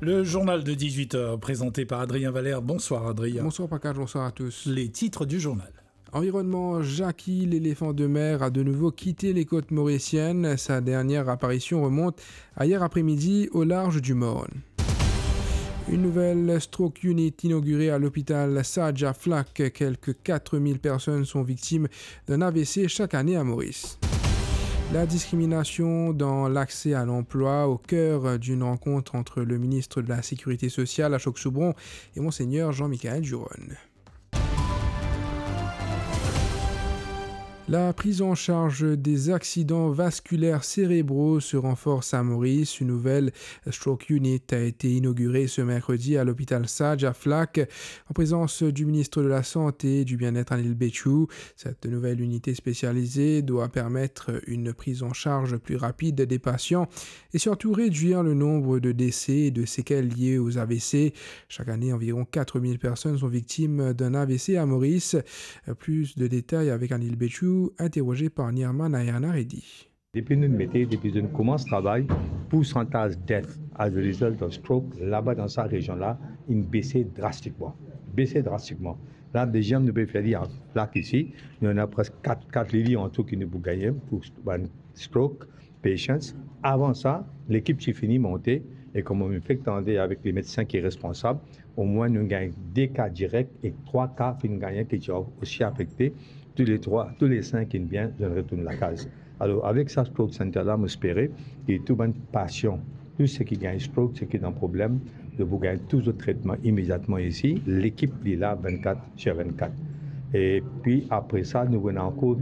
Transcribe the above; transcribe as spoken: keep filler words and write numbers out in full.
Le journal de dix-huit heures présenté par Adrien Valère. Bonsoir Adrien. Bonsoir Pankaj, bonsoir à tous. Les titres du journal. Environnement, Jacky, l'éléphant de mer, a de nouveau quitté les côtes mauriciennes. Sa dernière apparition remonte à hier après-midi au large du Morne. Une nouvelle stroke unit inaugurée à l'hôpital Saadja Flacq. Quelques quatre mille personnes sont victimes d'un A V C chaque année à Maurice. La discrimination dans l'accès à l'emploi, au cœur d'une rencontre entre le ministre de la Sécurité sociale, Ashok Soubron, et Monseigneur Jean-Michel Duronne. La prise en charge des accidents vasculaires cérébraux se renforce à Maurice. Une nouvelle stroke unit a été inaugurée ce mercredi à l'hôpital Saadja Flacq, en présence du ministre de la Santé et du Bien-être, Anil Bechoo. Cette nouvelle unité spécialisée doit permettre une prise en charge plus rapide des patients et surtout réduire le nombre de décès et de séquelles liées aux A V C. Chaque année, environ quatre mille personnes sont victimes d'un A V C à Maurice. Plus de détails avec Anil Bechoo, interrogé par Nirma Nayana Reddy. Depi nou mete, depi nou koumans travay, poursantaz death as a result of stroke laba dan sa rezion la, inn bese drastikman. Bese drastikman. La, deziem nou pe fer li an Flacq isi, nou ena preske kat, kat lili antou ki nou pou gagne pou bann stroke patients. Avan sa, lekip ti fini monte, e kouma mo fek tande avek lemedsin ki responsab, omwin nou gagn de ka direk e trwa ka finn gagne ki ti osi afekte. Tou le trwa, tou le sink inn bien, zot inn retourn lakaz. Alor, avek sa stroke center la, mo espere ki tou bann pasian, tou seki gagn stroke, seki dan problem, zot pou gagn tou zot tretman imediatman isi. Lekip li la vennkat sir vennkat. E pi apre sa, nou ena ankor